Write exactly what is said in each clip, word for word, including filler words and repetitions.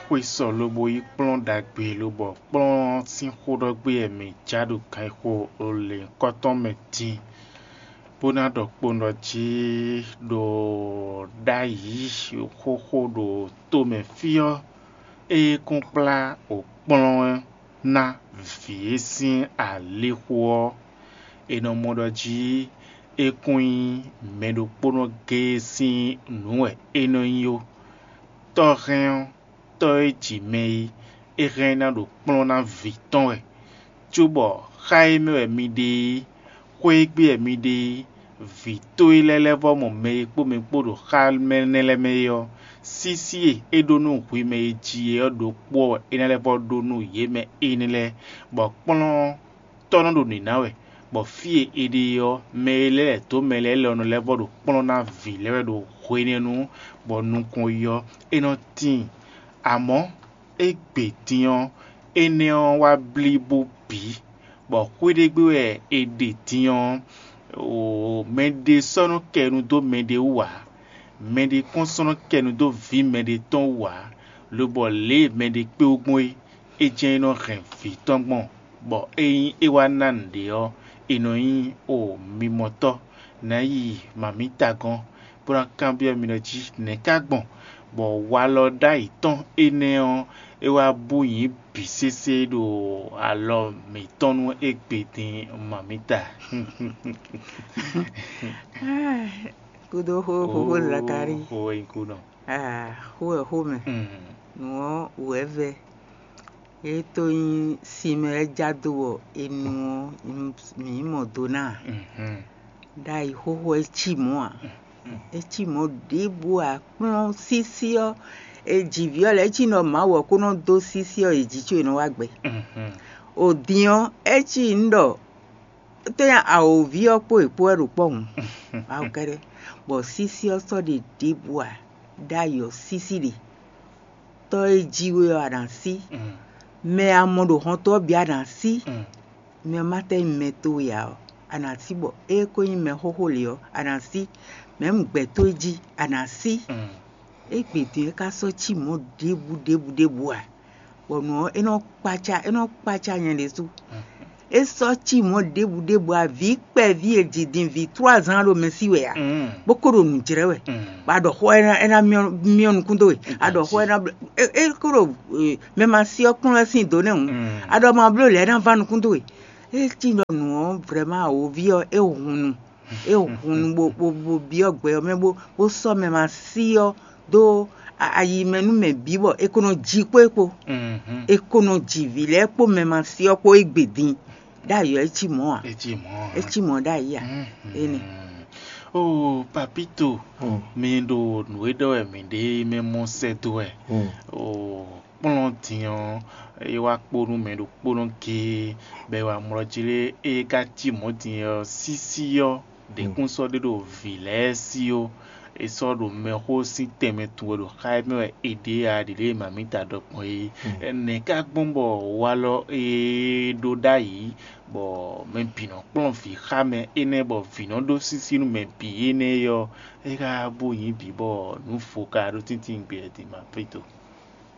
Xwe sɔ lobo yí kplɔ́n ɖagbe lobɔ kplɔ́n sín xó ɖɔ gbé wɛ mǐ ja ɖo ganxixo lěhunkɔtɔn mɛ din, bó ná ɖɔ kpowun ɖɔ jí ɖo ɖ'ayǐ xóxó ɖo tomɛ fí ɔ́, ée kún kplá wǒ kplɔ́n ná vǐ e sín alixo ɔ́, è nɔ mɔ ɖɔ jí é kún nyí mɛ ɖokpónɔ géé sín nǔ wɛ é nɔ nyí ó. Tɔ́ hɛn ɔ́, tɔ́ e ji mɛ é, é hɛn ná ɖo kplɔ́n ná vǐ tɔn wɛ, cóbɔ xá e mɛ wɛ mi ɖe é, xwé e gbe wɛ mi ɖe é, vǐ tó e lɛ́ɛ lɛ́ vɔ mɔ mɛ e kpó mi kpó ɖo xá mɛ énɛ́ lɛ́ɛ mɛ é ɔ́, sísí e é ɖó nú hwi mɛ e ji é ɔ́ ɖokpó ɔ́ wɛ é ná lɛ́ vɔ ɖó nú yě mɛ énɛ́ lɛ́ɛ, bɔ kplɔ́n tɔ́ nɔ ɖo nǐ ná wɛ, bɔ fí e è ɖe ɔ́, mɛ e lɛ́ lɛ̌ dó mɛ lɛ́ɛ lɛ́ɛ ɔ́ nɔ lɛ́ vɔ ɖo kplɔ́n ná vǐ lɛ́ɛ wɛ ɖo hwenɛ́nu, bɔ nukɔn yi ɔ́, é nɔ tíin. Amɔ̌, égbé din ɔ́, énɛ́ ɔ́ wá blí bó bǐ, bɔ xwé ɖé gbe wɛ è ɖe din ɔ́, mɛɖé sɔ́ nɔ kɛ nu dó mɛɖé wú ǎ; mɛɖé kɔn sɔ́ nɔ kɛ nu dó vǐ mɛɖé tɔn wú ǎ, lobɔ lě e mɛɖé kpé wú gbɔn é, é jɛ́n é nɔ hɛn vǐ tɔn gbɔn, bɔ ényí é wá ná nǔɖé ɔ́, è nɔ nyí o mimɔtɔ́. Nǎ yi mǎmítagɔ́n, bó ná kanbyɔ́ mi ɖɔ jí nɛ̌ ká gbɔn, bɔ walɔ ɖ'ayǐ tɔn énɛ́ ɔ́, é wá bú nyǐ bǐ sésé ɖo alɔ mǐtɔn nú égbé din mǎmíta. Kúdó xó xóxó Zakalíi. Xó e nyí kú nɔ. Aa, xó wɛ xó mɛ. Nǔ ɔ́ wǔ wɛ vɛ́. É tó nyí sin mɛ wɛ já dó bɔ è nu ɔ́, mǐ yi mɔ do ná a? Ɖ'ayǐ xóxó é cí mɔ̌ ǎ. É cí mɔ̌ ɖěbǔ ǎ. Kplɔ́n sísí ɔ́, è ji vǐ ɔ́ lɛ́ɛ é cí nɔ Mawu ɔ́ kó nɔ dó sísí ɔ́ è ji có è nɔ wá gbɛ. O din ɔ́, é cí nyǐ ɖɔ tó nyí awǒvi ɔ́ kpó è kpó wɛ ɖo kpɔ́ hǔn. Mawu kɛ́ɖɛ́. Bɔ sísí ɔ́ sɔ́ ɖe ɖěbǔ ǎ. Ɖ'ayǐ ɔ́ sísí ɖe. Tɔ́ e jí we ɔ́ a nǎ sí. Mɛ e a mɔ ɖo hɔnto ɔ́ bǐ a nǎ sí. Mɛ ɔ́ ma tɛ́ nyí mɛ towe ǎ ɔ́, a nǎ sí bɔ é ko nyí mɛ xóxó lě ɔ́, a nǎ sí. Mɛ̌ un gbɛ̌ towe jí, a nǎ sí. Égbě din é ka sɔ́ cí mɔ̌ ɖěbǔ ɖěbǔ ɖěbǔ ǎ, bɔ nǔ ɔ́ é nɔ kpácá é nɔ kpácá nyɛ ɖésú. É sɔ́ cí mɔ̌ ɖěbǔ ɖěbǔ ǎ, vǐ kpɛví e ji din vǐ tlú azǎn ɖo mɛ sí wɛ ǎ, bó ko ɖo nǔ jlɛ́ wɛ. Bɔ a ɖɔ xó ɔ́ é ná é ná myɔ myɔ nukún dó we, a ɖɔ xó ɔ́ é ná bló é é ko ɖo mɛ ma sí ɔ́ kplɔ́n wɛ sín dǒ nɛ́ hǔn, a ɖɔ ma bló lɛ̌ é ná ván nukún dó we. É cí ɖɔ nǔ ɔ́ vrɛ̌ma awǒví ɔ́ é hun nu. É hun nu bó bó bó byɔ́ gbɛ ɔ́ mɛ bó bó sɔ́ mɛ ma sí ɔ́ dó ayi mɛ nú mɛ bǐ bɔ é ko nɔ ji kpó é kpó. É ko nɔ ji vǐ lɛ́ɛ kpó mɛ ma sí ɔ́ kpó égbé din. Ɖ'ayǐ ɔ́ é cí mɔ̌ ǎ. É cí mɔ̌ ǎ. É cí mɔ̌ ɖ'ayǐ ǎ. Énɛ́. Oo, Papito, mi ɖo nǔ e ɖɔ wɛ mǐ ɖe mɛ mɔ sɛ́ dó wɛ. Oo, kplɔ́n din ɔ́, é wá kpó nú mɛ ɖokpónɔ géé, bɔ è wá mlɔ́ jí lé, é ka cí mɔ̌ din ɔ́, sísí ɔ́, ɖě kún sɔ́ ɖe ɖo vǐ lɛ́ɛ sí ó. È sɔ́ ɖo mɛxó sín tɛnmɛ tun wɛ ɖo xá e mɛ wɛ è ɖe ǎ, ɖě lě e mǎmíta ɖɔ gbɔn é. Nɛ̌ ka gbɔn bɔ walɔ e ɖó ɖ'ayǐ, bɔ mɛ bǐ nɔ kplɔ́n vǐ xá mɛ énɛ́, bɔ vǐ nɔ ɖó sísí nú mɛ bǐ énɛ́ ɔ́, é ka bó nyí bǐ bɔ nǔ vo ka ɖó tíntín gbé ɛ din ma Papito.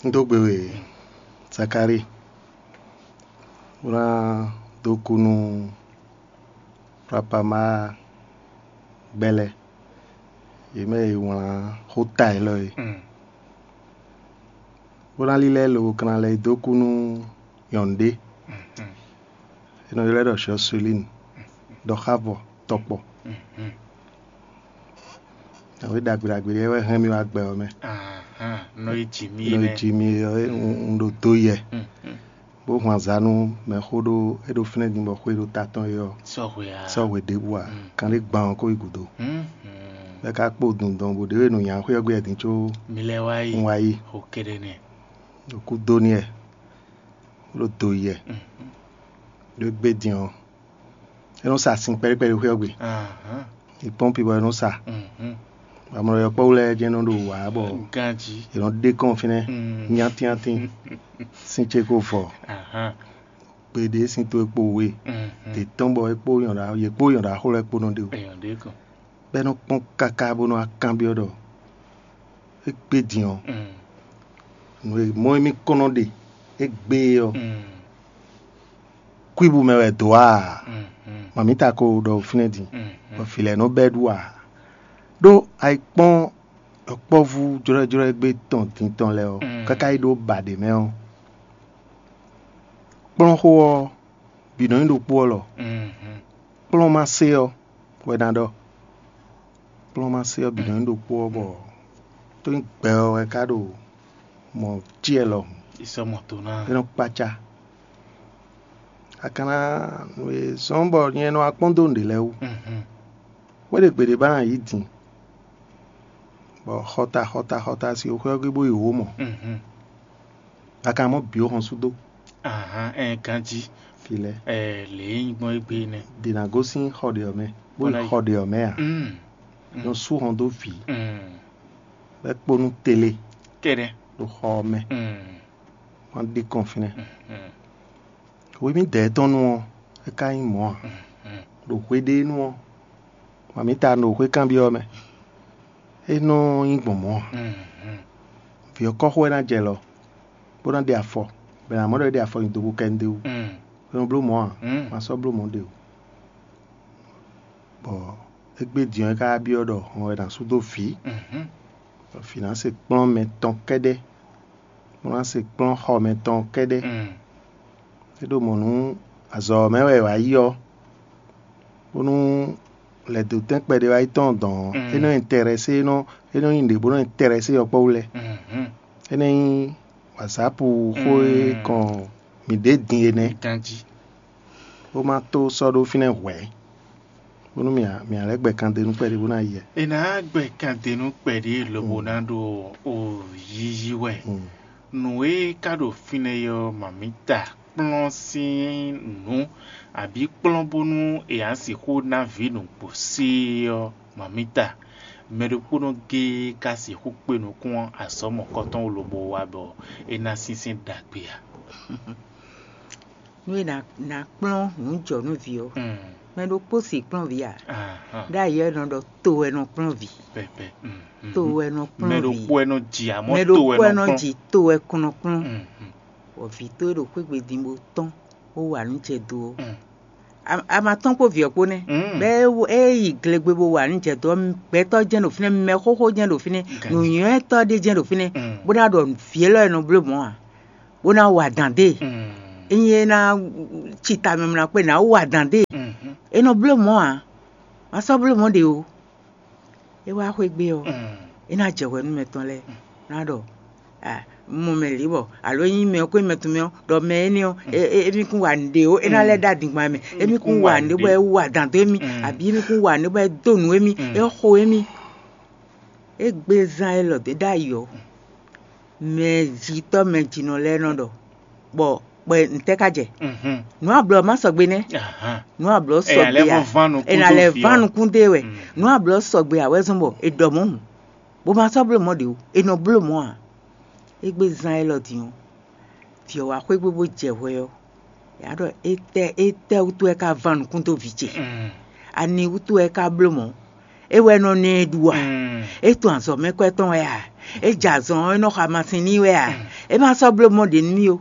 Un dó gbe we Zakalíi, bó ná dó kú nú Rapama gbɛ́ lɛ́ɛ, yě mɛ e wlán xó ta élɔ́ é, bó ná lílɛ́ lo kanna lɛ́ yi dó kú nú nyɔ̌nu ɖé, è nɔ ylɔ́ ɛ ɖɔ Jɔselín, ɖɔxávɔ tɔkpɔ. Nǎwe ɖagbe ɖagbe ɖé wɛ hɛn mì wá gbɛ ɔ́ mɛ. Nɔ e ji mì Nɔ e ji mì ɔ́, un ɖo do yɛ, bó hun azǎn nú mɛxó ɖó é ɖo fínɛ́ din bɔ xwé ɖo ta tɔn é ɔ́, sɔ́ hwe ǎ. Sɔ́ hwe ɖěbǔ ǎ, kan ɖé gban ɔ́ kó yi gǔdo. Bɔ é ka kpó dundɔn bó ɖě e nǔ nya xwé ɔ́ gbé din có mi lɛ́ wá yi un wá yi, xo kɛɖɛ nɛ. Ɖo kú dó n'i wɛ, bó ɖo do yi wɛ. Ɖó é gbé din ɔ́, é nɔ sa sin kpɛɖé kpɛɖé xwé ɔ́ gbe. Ahán. È kpɔ́n pi bɔ é nɔ sa. Mhm. Amlɔ yɔkpɔ́wú lɛ́ɛ jɛ́n nɔ ɖo wǎ bɔ Ganjí. È nɔ ɖe kɔn fínɛ́. Mm. Nyátínnyátí. Sín ce ko vɔ. Ahán. Gbeɖé sín tó e kpo we. Mhm. Dě tɔn bɔ é kpó nyɔ̌ɖá yě kpó nyɔ̌ɖá xó lɛ́ɛ kpó nɔ ɖe o. Èèyàn ɖé kàn. Bɔ é nɔ kpɔ́n káká bó nɔ wá kanbyɔ́ ɖɔ é gbé din ɔ́, Mm. Nǔ e mɔ e mì kɔn nɔ ɖe égbé ɔ́, kwíbu mɛ wɛ dǒ a? Mɔ̌mita ko ɖɔ fínɛ́ din, bɔ vǐ lɛ́ɛ nɔ bɛ́ ɖu a? Ɖó ayikpɔ́n yɔkpɔ́vú jlɔ́jlɔ́ égbé tɔn din tɔn lɛ́ɛ ɔ́, káká yi ɖó ba ɖě mɛ ɔ́, kplɔ́nxó ɔ́ bǐ nɔ nyí ɖokpó ɔ́ lɔ. Kplɔ́nmasé ɔ́ wɛ ná ɖɔ. Kplɔ́nmasé ɔ́ bǐ nɔ nyí ɖokpó ɔ́, bɔ tó nyí gbɛ ɔ́ wɛ ka ɖo mɔ̌ cí wɛ lɔhùn. Isɔmɔto ná. É nɔ kpácá. A ka ná nǔ e zɔ́n bɔ nyɛ nɔ wá kpɔ́n dó nǔɖé lɛ́ɛ wú. Xwé ɖé gbeɖé ba ná yí din, bɔ xɔta xɔta xɔta si xwé ɔ́ gbe bó yi wǒ mɔ. A ka mɔ bǐ ó hɔn sú dó. Ahan, ɛn ganjí. Fi lɛ́ɛ. Ɛ lě e nyí gbɔn égbé nɛ́. Dě ná gosín xɔ ɖě ɔ́ mɛ, bó yi xɔ ɖě ɔ́ mɛ ǎ. Nɔ sú hɔn dó vǐ, bɔ é kpó nú tele. Kɛɖɛ. Ɖo xɔ ɔ́ mɛ, wọ́n ɖi kɔn fínɛ́. Hwemídɛɛ tɔn nu ɔ́, é ka nyí mɔ̌ ǎ. Ɖo hweɖénu ɔ́, mɔ̌mita ɖo xwé kanbyɔ́ mɛ. É nɔ nyí gbɔn mɔ̌ ǎ. Vǐ ɔ́ kɔ́xo wɛ ná jɛ lɔ, bó ná ɖe afɔ, bɔ è nǎ mɔ ɖɔ é ɖe afɔ nyi do bó kɛ nú ɖ'é wú. É nɔ bló mɔ̌ ǎ, ma sɔ́ bló mɔ̌ ɖe o. Bɔ égbé din ɔ́, é ka byɔ́ ɖɔ hɔn wɛ è nǎ sú dó vǐ, bɔ vǐ ná se kplɔ́n mɛ tɔn kɛ́ɖɛ́, bó ná se kplɔ́n xɔ mɛ tɔn kɛ́ɖɛ́. É ɖo mɔ̌ nú azɔ̌ ɔ́ mɛ wɛ è wǎ yi ɔ́, bónú lɛ̌dǒtɛn kpɛɖé wá yi tɔn dɔn ɔ́, é nɔ nyí tɛrɛsé, é nɔ é nɔ nyí nǔɖé bó nɔ nyí tɛrɛsé yɔkpɔ́ wú lɛ́ɛ. É nɔ nyí wǎzápu xó e kɔn mǐ ɖe din é nɛ́, bó má tó sɔ́ ɖó fínɛ́ hwɛ̌, bónú mǐ mǐ lɛ́ gbɛ kan d'é nú kpɛɖé bó ná yi ɛ. È nǎ gbɛ kan d'é nú kpɛɖé lobo ná ɖo o yiyi wɛ. Nǔ e ka ɖo fínɛ́ ɔ́, mǎmíta kplɔ́n sín nǔ, abǐ kplɔ́n bónú è nǎ sixú ná vǐ nǔgbó sí ɔ́, mǎmíta, mɛ ɖokpónɔ géé ka sixú kpe nukún azɔ̌ mɔ̌kɔtɔn lobo wá bɔ é ná sínsɛ́n ɖagbe ǎ. Nú è nǎ kplɔ́n nǔ jɔ nú vǐ ɔ́, mɛ ɖokpó sixú kplɔ́n vǐ ǎ. Ɖ'ayǐ ɔ́, è nɔ ɖɔ to wɛ nɔ kplɔ́n vǐ. To wɛ nɔ kplɔ́n vǐ. Mɛ ɖokpó wɛ nɔ ji amɔ̌, mɛ ɖokpó wɛ nɔ ji to wɛ kɔn nɔ kplɔ́n. Bɔ vǐ towe ɖo xwé gbe din bó tɔ́n bó wa nǔ jɛ do ɔ́, a ma tɔ́n kpó vǐ ɔ́ kpó nɛ́. Bɔ é yi glegbe bó wa nǔ jɛ do ɔ́, gbɛtɔ́ jɛ́n ɖo fínɛ́, mɛ xóxó jɛ́n ɖo fínɛ́, nǔnywɛ́tɔ́ ɖé jɛ́n ɖo fínɛ́, bó ná ɖɔ vǐ élɔ́ e nɔ bló mɔ̌ ǎ, bó ná wa dǎn dó e. Ényí é ná ci ta mɛ mla kpé, nǎ wa dǎn dó e. É nɔ bló mɔ̌ ǎ, ma sɔ́ bló mɔ̌ ɖě o. É wá xwé gbe ɔ́, é ná jɛ hwɛ nú mɛ tɔn lɛ́ɛ, ná ɖɔ: "Un mɔ mɛ lǐ bɔ, alo ényí mɛ ɔ́ ko nyí mɛ tɔn mɛ ɔ́, ɖɔ mɛ énɛ́ ɔ́, émí kún wa nǔɖé ó, é ná lɛ́ ɖó adingban mɛ, émí kún wa nǔɖé bɔ é wú adǎn dó émí, abǐ émí kún wa nǔɖé bɔ é dó nǔ émí, é xo émí." Égbé zán élɔ́ ɖě ɖ'ayǐ ɔ́, mɛjitɔ́ mɛjinɔ lɛ́ɛ nɔ ɖɔ, bɔ bɔ ntɛ́ ka jɛ? Nǔ ablɔ má sɔgbe nɛ́. Nǔ ablɔ sɔgbe ǎ. È nǎ lɛ́ ván nukún dó e wɛ. Nǔ ablɔ sɔgbe ǎ wɛ zɔ́n bɔ è ɖɔ mɔ̌ hǔn, bó ma sɔ́ bló mɔ̌ ɖě o, è nɔ bló mɔ̌ ǎ. Égbé zán élɔ́ din ɔ́, vǐ ɔ́ wá xwé gbe bó jɛ hwɛ ɔ́, yǎ ɖɔ: "Étɛ́ étɛ́ wútu wɛ ka ván nukún dó vǐ ce? Ani wútu wɛ é ka bló mɔ̌? É wɛ nɔ ná ɛ ɖu a? É tun azɔ̌mɛkwɛ́ tɔn wɛ a? É jɛ azɔn ɔ́, é nɔ xa masin n'i wɛ a? É ma sɔ́ bló mɔ̌ ɖě nú mì ó.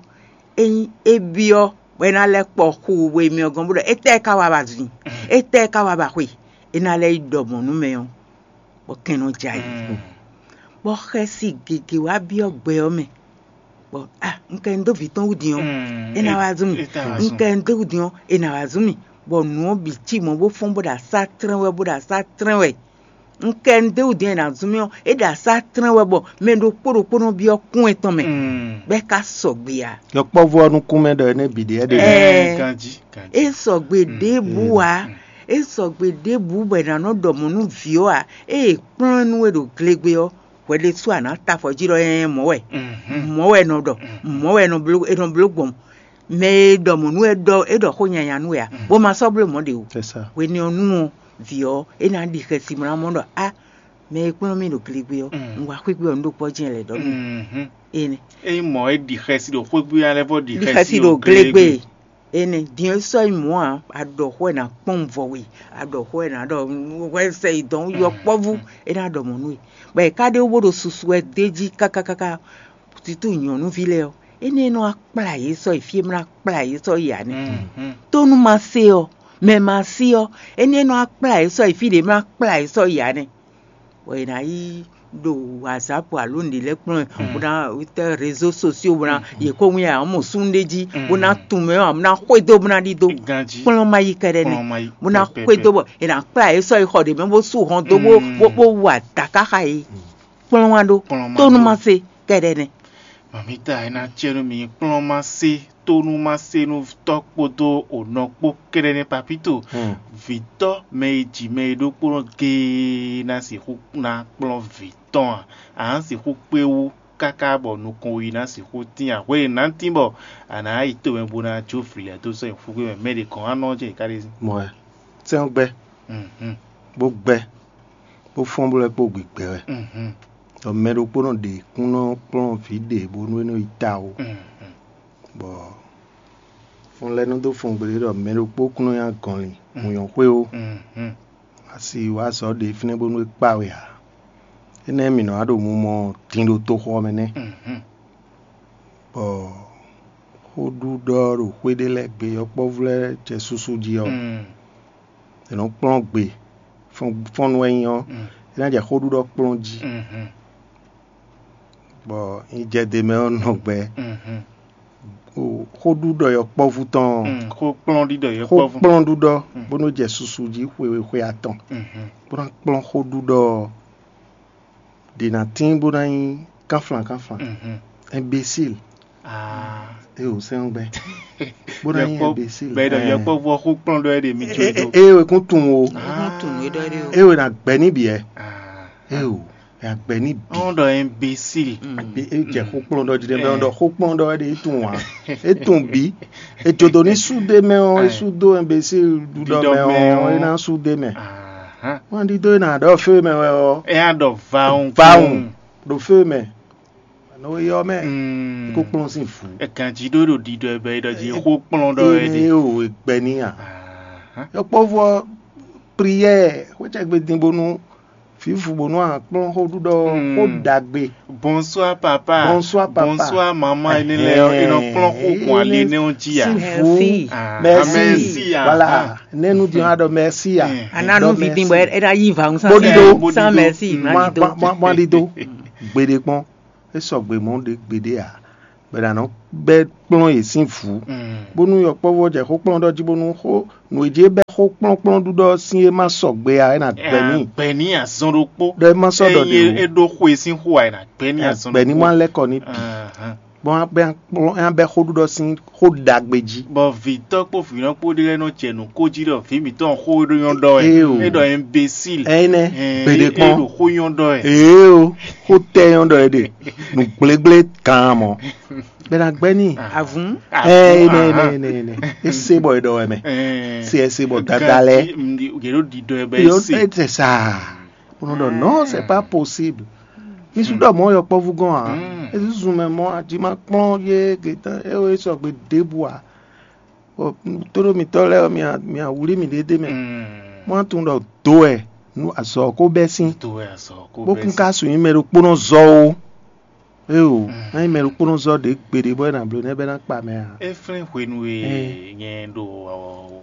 Ényí é byɔ́ bɔ é ná lɛ́ kpɔ xu we mɛ ɔ́ gɔ́n bó ɖɔ: 'Étɛ́ ka wa ba zun? Étɛ́ ka wa ba xwe?' É ná lɛ́ yi ɖɔ mɔ̌ nú mɛ ɔ́, bɔ kɛn nɔ jɛ ayǐ. Bɔ xɛsi gěgé wá byɔ́ gbɛ ɔ́ mɛ, bɔ: 'A, un kɛ un dó vǐ tɔn wú din ɔ́, é ná wá zún mì. Un kɛ un dó wú din ɔ́, é ná wá zún mì.' Bɔ nǔ ɔ́ bǐ cí mɔ̌ bó fɔ́n bó ɖo asá tlɛ́n wɛ, bó ɖo asá tlɛ́n wɛ. Un kɛ un dó wú din ɔ́, é ná zún mì ɔ́, é ɖo asá tlɛ́n wɛ bɔ mɛ ɖokpó ɖokpó nɔ byɔ́ kún etɔn mɛ, bɔ é ka sɔgbe ǎ. Yɔkpɔ́vú ɔ́ nukún mɛ ɖɔ énɛ́ bǐ ɖe é ɖe. Ɛɛ, é sɔgbe ɖěbǔ ǎ. É sɔgbe ɖěbǔ bɔ è nǎ nɔ ɖɔ mɔ̌ nú vǐ ɔ́ ǎ. Ée è kplɔ́n ɛ nú we ɖo glegbe ɔ́, hwɛ ɖésú a nǎ ta afɔ jí ɖɔ: "Ɛɛn, mɔ̌ wɛ, mɔ̌ wɛ è nɔ ɖɔ, mɔ̌ wɛ è nɔ bló, è nɔ bló gbɔn." Mɛ e ɖɔ mɔ̌ nú we ɖɔ é ɖɔ xó nyanya nú we ǎ, bó ma sɔ́ bló mɔ̌ ɖě o. Hwenu ɔ́ nu ɔ́, vǐ ɔ́, é ná ɖi xɛsi mlɔ́ mɔ ɖɔ: "A, mɛ e kplɔ́n mì ɖo glegbe ɔ́, un wá xwé gbe ɔ́, un ɖó kpɔ́ jɛ́n lɛ̌ ɖɔ nú énɛ́." Ényí mɔ̌ é ɖi xɛsi ɖo xwé gbe ɔ́ lɛ́ vɔ ɖi xɛsi ɖo glegbe. Énɛ́ din ɔ́ sɔ́ nyí mɔ̌ ǎ, a ɖɔ xó wɛ ná kpɔ́n vɔ we, a ɖɔ xó wɛ ná ɖɔ hwɛ sɛ yi dɔn yɔkpɔ́vú, é ná ɖɔ mɔ̌ nú we. Bɔ è ka ɖe wú bó ɖo susu wɛ d'é jí káká káká. Titú nyɔ̌nuví lɛ́ɛ ɔ́, énɛ́ e nɔ wá kplá yě sɔ́ yi fí e mlá kplá yě sɔ́ yi ǎ nɛ́. Tónú ma se ɔ́, mɛ ma se ɔ́, énɛ́ e nɔ wá kplá yě sɔ́ yi fí ɖě mlá kplá yě sɔ́ yi ǎ nɛ́. Bɔ è nǎ yi ɖo whatsapp alo nǔɖé lɛ́ɛ kplɔ́n ɛ, bó ná tɛ́ réseau sociaux, bó ná yě kó wín ǎ mɔ súnnu ɖé jí, bó ná tunwun mɛ ɔ́, bó ná xwedó, bó ná ɖidó. Kplɔ́n ma yi kɛɖɛ́ nɛ́, bó ná xwedó bɔ è nǎ kplá yě sɔ́ yi xɔ ɖě mɛ bó sú hɔn dó bó bó bó wa dǎ káxa yě. Kplɔ́n wá ɖó. Tónú ma se kɛɖɛ́ nɛ́. Mamita, é ná cɛ nú mi kplɔ́n ma se, tónú ma se nú tɔ́ kpódó onɔ kpó kɛɖɛ́ nɛ́ papíto. Vǐtɔ́ mɛ e ji mɛ e ɖokpónɔ géé ná sixú ná kplɔ́n vǐ tɔn a? A nǎ sixú kpé wú káká bɔ nukɔn yi ná sixú tín a? Hwenu ná tín bɔ a nǎ yi tomɛ bó ná jó vǐ lɛ́ɛ dó sɔ́ nyi xúgbé mɛ, mɛ ɖě kɔn wá nɔ jɛ ká ɖé sí. Mɔ wɛ, sɛ́n ɔ́ gbɛ́, bó gbɛ́, bó fɔ́n bó lɛ́ kpó gbigbɛ wɛ. Ɖɔ mɛ ɖokpónɔ ɖě kún nɔ kplɔ́n vǐ ɖě bónú é nɔ yi ta ó. Bɔ fɔn lɛ́ɛ nɔ dó fɔn gbeɖé ɖɔ mɛ ɖokpó kún nɔ nyi agɔnlin wǔnyɔ́xwé ó. Asi wá azɔ̌ ɖě fínɛ́ bónú é kpa we ǎ. Énɛ́ mǐ nɔ wá ɖo mumɔ din ɖo toxo ɔ́ mɛ nɛ́. Bɔ xóɖuɖɔ ɖo xwé ɖé lɛ́ɛ gbe, yɔkpɔ́vú lɛ́ɛ jɛ susu jí ɔ́, è nɔ kplɔ́n gbe, fɔ́n- fɔ́nnu wɛ nyí ɔ́, é ná jɛ xóɖuɖɔ kplɔ́n jí. Bɔ nyi jɛ ɖe mɛ ɔ́ nɔ gbɛ, o, xóɖuɖɔ yɔkpɔ́vú tɔn ɔ́, Mm, xó kplɔ́n ɖiɖɔ yě xó kpɔ́ fún. Kplɔ́n ɖuɖɔ, bó nɔ́ jɛ susu jí xwe xwe atɔn, bó ná kplɔ́n xóɖuɖɔ ɔ́, ɖě ná tín bó ná nyí kánflán kánflán. Imbécile. Ah. E ò sɛ́n gbɛ. Bó ná nyí imbécile. Bɛ̌ ɖɔ yɔkpɔ́vú ɔ́ xó kplɔ́n ɖɔ é ɖe mi jó e dó. E ò kún tunwun o. Wọ́n tún nǔ é ɖɔ é ɖe o. E ò ná gbɛ ní bǐ ɛ. Ah. E ò, ná gbɛ ní bǐ. Wọ́n ɖɔ imbécile. Be- E jɛ xó kplɔ́n ɖɔ jí ɖe mɛ, wọ́n ɖɔ xó kplɔ́n ɖɔ é ɖe é tunwun ǎ. É tunwun bǐ. E jǒ dó ní súdé mɛ ɔ́, é súdó imbécile ɖuɖɔ mɛ ɔ́, é ná súdé mɛ. Ahán. Wọ́n ɖi dó é nà ɖɔ fé mɛ wɛ ɔ́. É á ɖɔ vaun. Vaun. Ɖo fé mɛ. Nɔ e yɔ mɛ. Mm. Kó kplɔ́n sín vǔ. Ẹ̀gànjí ɖó ɖo ɖiɖɔ ẹ bɛ é ɖɔ jí xó kplɔ́n ɖɔ ẹ ɖe. Ene o, e gbɛ ní a. Ahán. Yɔkpɔ́vú ɔ́, prière, xwécɛ́gbe din bónú fǐfú bónú a kplɔ́n xó ɖuɖɔ, xó ɖagbe. Bonsoir papa. Bonsoir papa. Bonsoir maman, ene lɛ ɔ, e nɔ kplɔ́n xó gbɔn ali énɛ́ ɔ́ jí a. Sín vǔ. Merci. Ah, merci. Merci, ah, voilà. Nɛnu din a ɖɔ merci a. Ana nu vi din bɔ e na yi va ŋu. Bó ɖi do. Sans merci, ma ɖi do. Ma ɖi do. Gbeɖé kpɔn. É sɔgbe mɔ̌ ɖě gbeɖé ǎ, bɔ è nǎ nɔ bɛ́ kplɔ́n yě sín vǔ, bónú yɔkpɔ́vú ɔ́ jɛ xó kplɔ́n ɖɔ jí bónú xó nǔ e jí é bɛ́ xó kplɔ́nkplɔ́n ɖuɖɔ ɔ́ sín é má sɔgbe ǎ, é nǎ gbɛ n'i. Gbɛ ní azɔn ɖokpó. Ɖɔ é má sɔ́ ɖɔ ɖě o. É ɖó xwe sín xó ǎ, é ná gbɛ ní azɔn ɖokpó. Gbɛ ní má lɛ́ kɔ ní bǐ. Bɔn é ná bɛ́ xó ɖuɖɔ sín xó ɖagbe jí. Bɔ vǐtɔ́ kpó vǐnɔ kpó ɖé lɛ́ɛ nɔ jɛ nǔ kó jí ɖɔ vǐ mǐtɔn xó e ɖó nyɔ́ ɖɔ wɛ. Éyo. É ɖɔ imbécile. Ɛnɛ, gbeɖé kpɔn. É ɖo xó nyɔ́ ɖɔ wɛ. Éyo, xó tɛ nyɔ́ ɖɔ wɛ ɖe. Nǔ gblégblé kan mɔ. Bɛ na gbɛ ní. Avun. Ɛ, ɛnɛ, ɛnɛ, ɛnɛ, ɛnɛ. É se bɔ é ɖɔ wɛ mɛ. Se ɛ se bɔ dada lɛ. Yě ɖo ɖiɖɔ ɛ bɛ é se. Ɛ tɛ sa. Bó nɔ ɖɔ non, c'est pas possible. Mi sú ɖɔ mɔ̌ yɔkpɔ́vú gɔ́n ǎ. É zúzun mɛ mɔ̌ a jí ma kplɔ́n yé gětán é wɛ sɔgbe ɖěbǔ ǎ. Bɔ tóɖó mitɔ́ lɛ́ɛ ɔ́, mi a wlí mì ɖéɖé mɛ. Mɔ́ a tunwun ɖɔ dǒ wɛ nú azɔ̌ ɔ́ kó bɛ́ sín. Bó kún ka su nyí mɛ ɖokpónɔ zɔ ó. Éyo, ná nyí mɛ ɖokpónɔ zɔ ɖě gbeɖé bɔ é ná bló nɛ́ bɛ́ ná kpa mɛ ǎ. É flín hwenu e nyɛ ɖo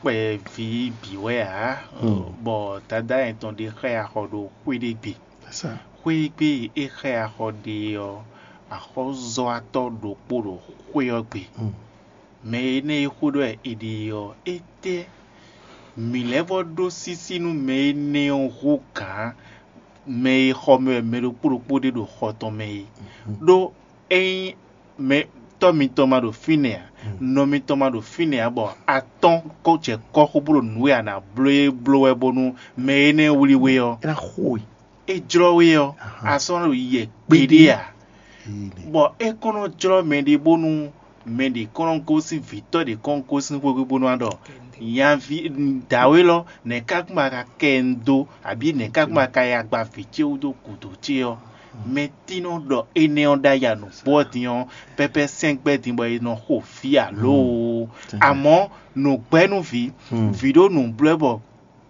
kpɛví bǐ wɛ ǎ, bɔ dadá nyɛ tɔn ɖé xá axɔ ɖo xwé ɖé gbe. Xwé e gbe é xá axɔ ɖe ɔ́, axɔ́zɔ́watɔ́ ɖokpó ɖo xwé ɔ́ gbe. Mɛ énɛ́ e xó ɖɔ è ɖe ɔ́, étɛ́ mǐ lɛ́ vɔ́ ɖó sísí nú mɛ énɛ́ ɔ́ hú gǎn mɛ e xɔ mɛ wɛ mɛ ɖokpó ɖokpó ɖe ɖo xɔ tɔn mɛ é? Ɖó ényí mɛ tɔ́ mitɔn ma ɖo fínɛ́ ǎ, nɔ mitɔn ma ɖo fínɛ́ ǎ, bɔ atɔ́n kɔ jɛ kɔ́ xó bó ɖo nǔ e a nǎ bló é bló wɛ bónú mɛ énɛ́ wlí we ɔ́, é ná xo we. É jlɔ́ we ɔ́, a sɔ́ nɔ yi yɛ gbeɖé ǎ. Bɔ é kɔn nɔ jlɔ́ mɛ ɖé bónú mɛ ɖě kɔn nɔ gosín vǐtɔ́ ɖě kɔn nɔ gosín xwé bónú a ɖɔ nyaví dǎwe lɔ, nɛ̌ ká kún ma ka kɛ ɛ dó, abǐ nɛ̌ ká kún ma ka yi agba vǐ ce wú dó gǔdo ce ɔ́? Mɛ tínɔ ɖɔ énɛ́ ɔ́ ɖ'ayǐ a nǔgbó ɔ́ din ɔ́, pɛ́pɛ́ sɛ́n gbɛ́ din bɔ è nɔ xo vǐ alo? Amɔ̌, nǔgbɛ́núvǐ, vǐ ɖó nǔ bló ɛ bɔ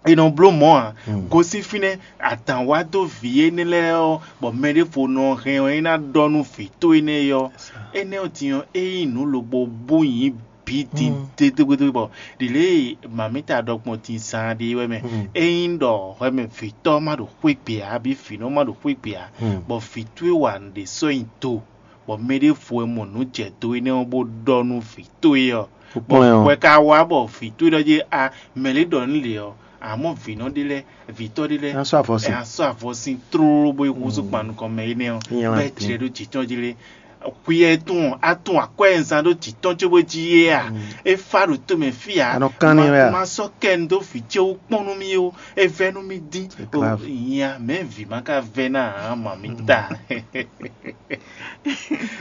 è nɔ bló mɔ̌ ǎ. Gosín fínɛ́, adǎn wá dó vǐ énɛ́ lɛ́ɛ ɔ́, bɔ mɛ ɖěvo nɔ hɛn ɔ́, é ná ɖɔ nú vǐ tó énɛ́ ɔ́. Énɛ́ ɔ́ din ɔ́, é nyí nǔ lobɔ bó nyí bǐ din dédégbédé bɔ ɖi lě e mǎmíta ɖɔ gbɔn din zaan ɖe é wɛ mɛ. É nyí ɖɔ hwɛ mɛ vǐtɔ́ ma ɖo xwé gbe ǎ, abǐ vǐnɔ ma ɖo xwé gbe ǎ, bɔ vǐ towe wa nǔɖé sɔ́ nyi do, bɔ mɛ ɖěvo wɛ mɔ nǔ jɛ do énɛ́ ɔ́ bó ɖɔ nú vǐ towe ɔ́. Bɔ hwɛ ka wá bɔ vǐ towe ɖɔ jí a mɛ lě ɖɔ nú lě ɔ́, amɔ̌ vǐnɔ ɖé lɛ́ɛ, vǐtɔ́ ɖé lɛ́ɛ, ná sɔ́ avɔ sin. Ná sɔ́ avɔ sin tlóló bó yi húzú kpan nukɔn mɛ énɛ́ ɔ́, bɔ é jlɛ́ ɖó jǐ tɔn jí lé. Xwi ɛ tún ɔ́, á tún akwɛ́ e un zán ɖó jǐ tɔn cóbó jí é a? É fá ɖo tomɛ fí ǎ. A nɔ kán n'i wɛ a? Ma sɔ́ kɛ un dó vǐ ce wú kpɔ́n nú mì ó. É vɛ́ nú mì dín. Nya mɛ̌ vǐ ma ka vɛ́ ná ǎ, ma mì ta.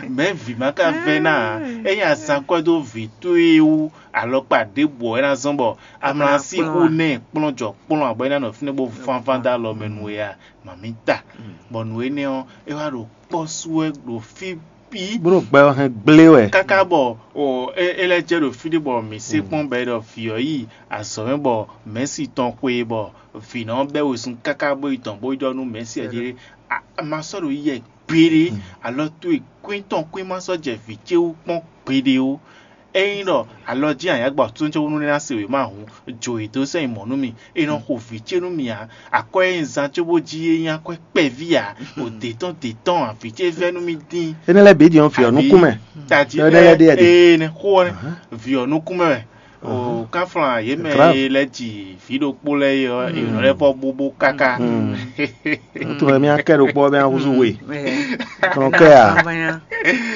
Mɛ̌ vǐ ma ka vɛ́ ná ǎ? É nyi azan kwɛ́ dó vǐ towe wú alɔkpa ɖěbǔ ɔ́ é ná zɔ́n bɔ a mlá sí xú nɛ kplɔ́n jɔ kplɔ́n abɔ é ná nɔ fínɛ́ bó vánván dó alɔ mɛ nú we a? Mǎmíta. Bɔ nǔ énɛ́ ɔ́, é wá ɖo kpɔ́ sú wɛ ɖo fí bǐ. Bó ɖo gbɛ ɔ́ hɛn gblé wɛ. Káká bɔ o é é lɛ́ jɛ ɖo fí ɖé bɔ mǐ se kpɔ́n bɔ é ɖɔ vǐ ɔ́ yi azɔ̌ mɛ bɔ mɛ̌si tɔn xwe bɔ vǐnɔ ɔ́ bɛ́ wezun káká bó yi dɔn bó yi ɖɔ nú mɛ̌si ɔ́ jí a ma sɔ́ ɖo yí yɛ gbeɖé alɔ towe kwín tɔn kwín ma sɔ́ jɛ vǐ ce wú kpɔ́n gbeɖé ó. Ényí ɖɔ alɔ jí anyǎgbɔ atónújɔwúnú lɛ́ɛ ná se wěma hǔn, jǒ yě dó sɛ́ nyi mɔ̌ nú mì. È nɔ xo vǐ ce nú mì ǎ. Akwɛ́ e un zán cóbó jí é nyí akwɛ́ kpɛví ǎ. O dě tɔn dě tɔn ǎ, vǐ ce vɛ́ nú mì dín. Énɛ́ lɛ́ɛ bǐ ɖi ɔ́ vǐ ɔ́ nukún mɛ. Tají Énɛ́ lɛ́ɛ ɖíe a ɖe. Ee, ne xó ɔ́ vǐ ɔ́ nukún mɛ wɛ. O káflán yě mɛ Grave. E lɛ́ ji vǐ ɖokpó lɛ́ɛ é ɔ́, è nɔ lɛ́ vɔ bóbó káká. Wotun wɛ mía kɛ ɖokpɔ ɔ́ mía húzú we. Kplɔn kɛ a?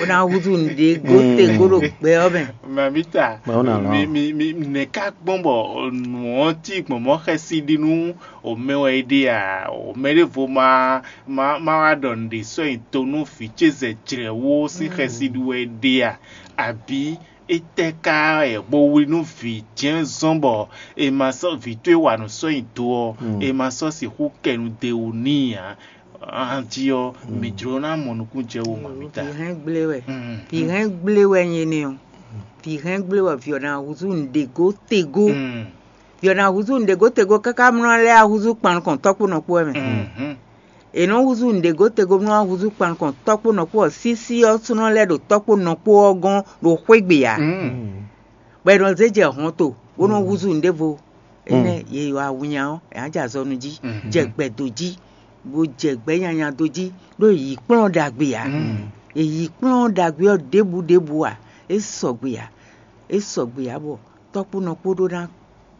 Ó ná húzú nǔɖé góte gó ɖo gbɛ ɔ́ mɛ. Mamita, Mɛ ɔ́ nǎ lɔn. Mi mi mi nɛ̌ ká gbɔn bɔ nǔ ɔ́ cí gbɔn mɔ̌ xɛsi ɖi nú o mɛ wɛ é ɖe a? O mɛ ɖěvo ma ma ma wá ɖɔ nǔɖé sɔ́ nyi to nú vǐ ce zɛ jlɛ̌ wú sín xɛsi ɖu wɛ é ɖe a? Abǐ étɛ́ ká wɛ bo wlí nú vǐ jɛ́n zɔ́n bɔ è ma sɔ́ vǐ towe wa nǔ sɔ́ nyi do ɔ́, è ma sɔ́ sixú kɛ nu d'é wú n'i ǎ? Anjí ɔ́, mǐ jló ná mɔ nukúnnú jɛ wú mɔ̌mítá. Vǐ hɛn gblé wɛ. Vǐ hɛn gblé wɛ nyɛ nɛ ɔ́. Vǐ hɛn gblé wɛ vǐ ɔ́ ná húzú nǔɖé gótego. Vǐ ɔ́ ná húzú nǔɖé gótego káká mlɔ́ lɛ́ɛ ahúzú kpan nukɔn tɔ́ kpó nɔ kpó wɛ mɛ. È nɔ húzú nǔɖé gótego mlɔ́ ahúzú kpan nukɔn tɔ́ kpó nɔ kpó ɔ́, sísí ɔ́ sú nɔ lɛ́ ɖo tɔ́ kpó nɔ kpó ɔ́ gɔ́n ɖo xwégbè ǎ. Bɔ è nɔ zé jɛ hɔn to, bó nɔ húzú nǔɖévo. Énɛ́ yě yi wá winnya ɔ́, è nǎ jɛ azɔnu jí, jɛ gbɛ do jí, bó jɛ gbɛ̌ nyanya do jí, ɖó è yǐ kplɔ́n ɖagbe ǎ. È yǐ kplɔ́n ɖagbe ɔ́ ɖěbǔ ɖěbǔ ǎ, é sɔgbe ǎ, é sɔgbe ǎ bɔ tɔ́kpónɔ kpó ɖó ná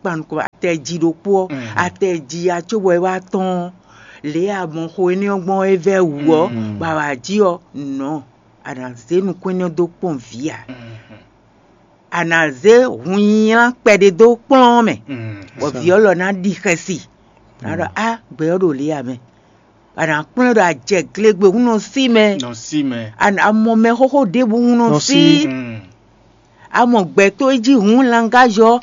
kpan nukɔn atɛji ɖokpó ɔ́, atɛji ya cóbɔ é wá tɔ́n ɔ́, lě e a mɔ xo énɛ́ ɔ́ gbɔn é vɛ́ wǔ ɔ́, bɔ a wǎ jí ɔ́, nɔ̌ a nǎ zé nukún énɛ́ ɔ́ dó kpɔ́n vǐ ǎ. A nǎ zé hunnylán kpɛɖé dó kplɔ́n ɔ́ mɛ, bɔ vǐ ɔ́ lɔ ná ɖi xɛsi. A ɖɔ á gbɛ ɔ́ ɖo lě ǎ mɛ. A nǎ kplɔ́n ɖɔ a jɛ glegbé hun nɔ sí mɛ. Nɔ sí mɛ. A nǎ mɔ mɛ xóxó ɖěbǔ hun nɔ Nɔ sí. sí. A mɔ gbɛtɔ́ e jí hun langájɔ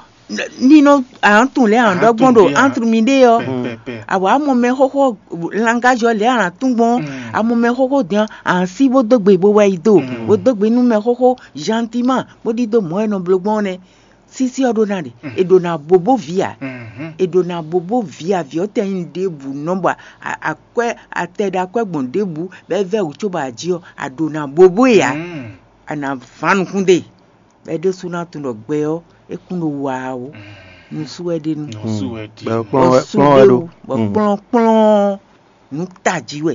ní nɔ àntún lɛ́ àndɔ́ gbɔn ɖo Àntún. Àntún mi ɖe ɔ́. Pɛpɛpɛ. Àwa a mɔ mɛ xóxó langájɔ lɛ́ àntún gbɔn. A mɔ mɛ xóxó dɛn à ń sí bó dó gbe bó wɛ yi do. Bó dó gbe nú mɛ xóxó gentillement bó ɖídó mɔ̌ e nɔ bló gbɔn ɔ́ nɛ́. Sísí ɔ́ ɖó ná ɖe, è ɖǒ ná bóbó vǐ ǎ. È ɖǒ ná bóbó vǐ ǎ, vǐ ɔ́ tɛ nyí ɖěbǔ nɔ bɔ akwɛ́ atɛ ɖo akwɛ́ gbɔn ɖěbǔ bɔ é vɛ́ wǔ cóbɔ a jí ɔ́, a ɖǒ ná bóbó e ǎ. A nǎ ván nukún ɖe, bɔ é ɖésú ná tunwun ɖɔ gbɛ ɔ́, é kún ɖo wa ɔ́, nusú wɛ ɖe nú. Nusú wɛ ɖi. Bɔ kplɔ́n wɛ Bɔ kplɔ́n wɛ ɖo. Bɔ kplɔ́n kplɔ́n nǔ tají wɛ.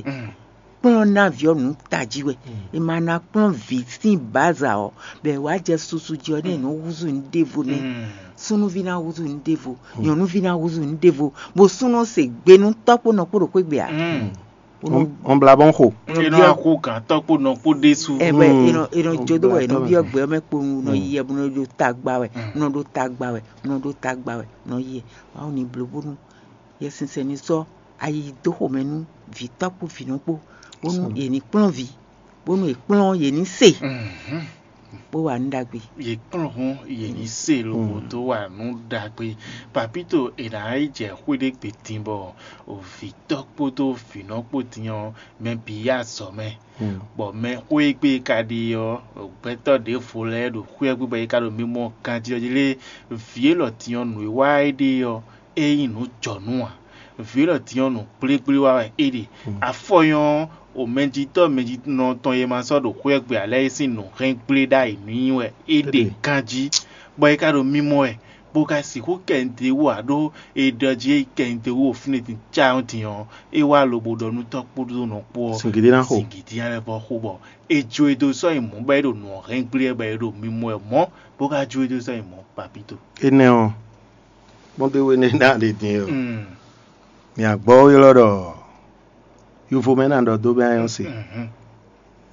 Kplɔ́n ná vǐ ɔ́ nǔ tají wɛ. È ma ná kplɔ́n vǐ sín bǎza ɔ́, bɔ è wǎ jɛ susu jí ɔ́, nɛ́ è nɔ húzú nǔ ɖěvo nɛ́. Súnnuví ná húzú nǔ ɖěvo, nyɔ̌nuví ná húzú nǔ ɖěvo, bó sú nɔ se gbe nú tɔ́ kpó nɔ kpó ɖo xwé gbe ǎ. Ó nɔ Ɔn bla bɔn xo. Ó nɔ Ena byɔ́ akó gǎn tɔ́ kpó nɔ kpó ɖésú. Ɛ bɔ Mm. è nɔ è nɔ Ó jó dó wɛ è nɔ gbla byɔ́ tɔ́ gbɛ ɔ́ mɛ kpowun nɔ Mm. yi ɛ bó nɔ ɖo tagba wɛ, Mm. nɔ ɖo tagba wɛ, nɔ ɖo tagba wɛ, nɔ yi ɛ. Wǎ ò ní bló bónú Yɛsinsɛn ní sɔ́ ayi dó xomɛ nú vǐtɔ́ kpó vǐnɔ kpó, bónú Sɔ́. Yě ní kplɔ́n vǐ, bónú è kplɔ́n yě ní se, Mhm. Bó wa nǔ ɖagbe. Yě kplɔ́n hɔn yě ní se lobo Mm. dó wa nǔ ɖagbe. Papito è nǎ yi jɛ xwé ɖé gbe din bɔ vǐtɔ́ kpódó vǐnɔ kpó din ɔ́, mɛ bǐ yi azɔ̌ mɛ. Mm. Bɔ mɛ xwé e gbe ka ɖe ɔ́, gbɛtɔ́ ɖěvo lɛ́ɛ ɖo xwé ɔ́ gbe bɔ é ka ɖo mimɔ ganjí ɔ́ jí lé, vǐ élɔ́ din ɔ́ nǔ e wa é ɖe ɔ́, é nyí nǔ jɔnǔ ǎ. Vǐ élɔ́ din ɔ́, nǔ gblégblé wa wɛ é ɖe. Afɔ nyɔ́ ɔ́, o mɛjitɔ́ mɛjinɔ tɔn e ma sɔ́ ɖo xwé ɔ́ gbe ǎ lɛ́ɛ é sín nǔ hɛn gblé ɖ'ayǐ nú nyi wɛ é ɖe ganjí, bɔ é ka ɖo mimɔ wɛ, bó ka sixú kɛ nǔɖé wú ǎ ɖó è ɖɔ jí é yi kɛ nǔɖé wú ɖo fínɛ́ din cáyɔ́ din ɔ́, é wá lobo ɖɔ nú tɔ́ kpódó nɔ kpó ɔ́, Singidi ná xo. Singidi ná lɛ́ vɔ xo bɔ è jó e dó sɔ́ nyi mɔ̌ bɔ é ɖo nǔ ɔ́ hɛn gblé wɛ bɔ è ɖo mimɔ wɛ mɔ̌, bó ka jó e dó sɔ́ nyi mɔ̌ papito. Énɛ́ ɔ́, kpɔ́n dó we nɛ́ ná ɖe din ɔ́, Mm. mǐ agbɔ́ ylɔ́ ɖɔ yovo mɛ ná ɖɔ dó bɛ́ anyɔ́ se. Mhm.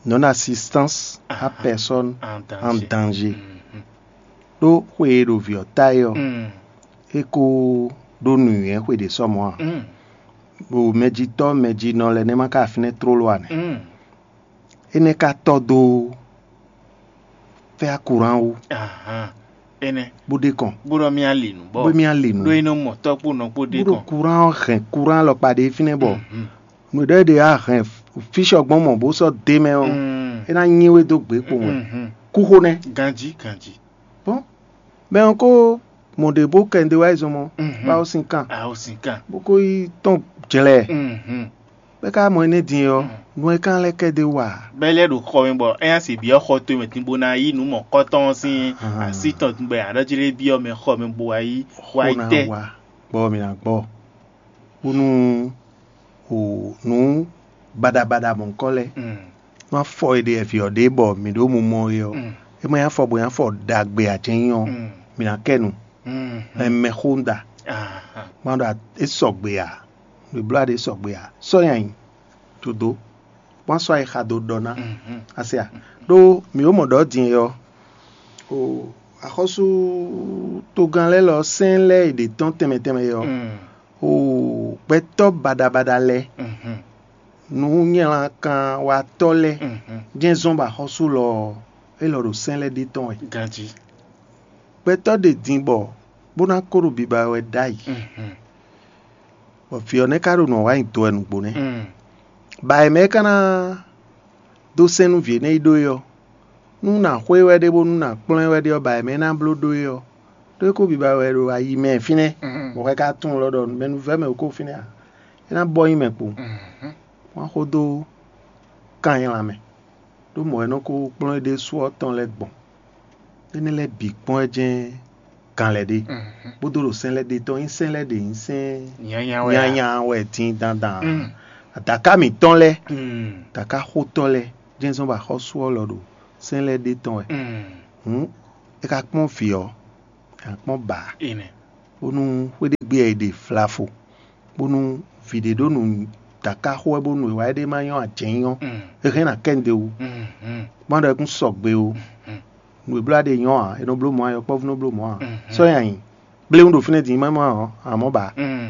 Non assistance à Ah, personne en en danger. Mhm. Ɖó xwe e ɖo vǐ ɔ́ ta é ɔ́, Mm. é ko ɖó nǔnywɛ́ xwe ɖě sɔ mɔ̌ ǎ. Mm. Ɖo mɛjitɔ́ mɛjinɔ lɛ́ɛ nɛ́ ma ka fínɛ́ tlóló ǎ nɛ́. Mm. Énɛ́ ka tɔ́ dó fɛ́ akúran wú, Ahan. Énɛ́. Bó ɖe kɔn, Bó ɖɔ mì ali nǔ bɔ. Bó mì ali nǔ. Ɖó é nɔ mɔ tɔ́ kpó nɔ kpó ɖe Bó ɖo kɔn. Kúran ɔ́ hɛn kúran alɔkpa ɖé fínɛ́ bɔ Mhm. nǔ ɖé ɖe á hɛn físɔ gbɔn mɔ bó sɔ́ dé mɛ ɔ́, Mm. É ná nyi we dó gbě kpowun wɛ. Mhm. Kúxo nɛ́. Ganjí, ganjí. Bɔn mɛ ɔ́ ko mɔ ɖě bó kɛ nɖé wá yi zɔn mɔ, Mhm. bá ó sin kan, Aho sin kan. Bó ko yi tɔn jlɛ. Mhm. Bɛ́ ka mɔ énɛ́ din ɔ́, Mm. nú é kan lɛ́ kɛ dé wa. Bɛ́ lɛ́ ɖo xɔ mɛ bɔ é nya se byɔ́ xɔ towe mɛ din bó ná yí nǔ mɔ̌kɔtɔn ɔ́ sín Ah. Así tɔn din bɔ è nǎ ɖɔ jí lé byɔ́ mɛ xɔ mɛ bó wá yí wá yi Xó ná tɛ́. Wa gbɔ mǐ ná gbɔ. Bónú o nǔ baɖabaɖa mɔ̌kɔ lɛ́ɛ Mm. nú afɔ e ɖe ɛvǐ ɔ́ ɖe bɔ mǐ ɖo mumɔ é ɔ́, Mm. É ma nyí afɔ bó nyí afɔ ɖagbe ǎ, jɛ́n nyí ɔ́, Mm. mǐ ná kɛ nu. Mm. Ɛmɛ xó un ɖa. Ahan. Má ɖɔ é sɔgbe ǎ. Nǔ e bló aɖe sɔgbe ǎ. Sɔ́ nyi ayǐ. Dodó. Wá sɔ́ ayixa dó ɖɔ ná. Mhm. Asi a? Ɖó mǐ ó mɔ ɖɔ din é ɔ́, o axɔ́sú togán lɛ́ɛ lɔ sɛ́n lɛ́ɛ e ɖě tɔ́n tɛnmɛ tɛnmɛ é ɔ́, Mm. o gbɛtɔ́ baɖabaɖa lɛ́ɛ, Mhm. nǔnywɛ́lankan watɔ́ lɛ́ɛ, Mhm. jɛ́n zɔ́n bɔ axɔ́sú lɔ ɔ́, é lɔ ɖo sɛ́n lɛ́ɛ ɖe tɔn wɛ. Ganjí. Gbɛtɔ́ ɖe din bɔ bó ná kó ɖo biba wɛ ɖ'ayǐ. Mhm. Bɔ vǐ ɔ́ nɛ́ ka ɖo nǔ ɔ́ wa nyi do wɛ nǔgbó nɛ́. Mm. Ba è mɛ é ka ná dó sɛ́n nú vǐ énɛ́ yi ɖó é ɔ́, nú nǎ xo ɛ wɛ ɖé bónú nǎ kplɔ́n ɛ wɛ ɖé ɔ́, ba è mɛ é ná bló ɖó é ɔ́, ɖó é kó biba wɛ ɖo ayi mɛ fínɛ́, Mm. Bɔ xɛ ka tunwun lɔ ɖɔ mɛnuvɛ́ mɛ wǒ kó fínɛ́ ǎ. É ná bɔ nyi mɛ kpo. Mhm. Wá xó dó kan nylá mɛ, ɖó mɔ̌ é nɔ ko kplɔ́n é ɖésú ɔ́ tɔn lɛ́ɛ gbɔn. Énɛ́ lɛ́ɛ bǐ kpɔ́n wɛ jɛ́n gan lɛ́ɛ ɖe, Mhm. Kpódó ɖo sɛ́n lɛ́ɛ ɖe tɔn nyí sɛ́n lɛ́ɛ ɖě nyí sɛ́n Nyanya wɛ a? Nyanya wɛ din dandan. Mm. Adǎká mǐtɔn lɛ́ɛ, Mm. Adǎká xótɔ́ lɛ́ɛ, jɛ́n zɔ́n bɔ axɔ́sú ɔ́ lɔ ɖo sɛ́n lɛ́ɛ ɖe tɔn wɛ. Mm. Hǔn é ka kpɔ́n vǐ ɔ́, é ka kpɔ́n bǎ, Énɛ́. Bónú xwé ɖé gbe wɛ è ɖe vlavo, bónú vǐ ɖé ɖó nǔ dǎká xó wɛ bónú è wá éɖée ma nyɔ́ ajɛ̌nyɔ́, Mm. É hɛn ná kɛ nǔɖé wú. Mm, mm. Má ɖɔ é kún sɔgbe ó. Mm. Nǔ e bló aɖe nyɔ́ ǎ, è nɔ bló mɔ̌ ǎ, yɔkpɔ́vú nɔ bló mɔ̌ ǎ. Mhm. Sɔ́ nyi ayǐ. Bléwún ɖo fínɛ́ din má mɔ ǎ, amɔ̌ ba. Mm.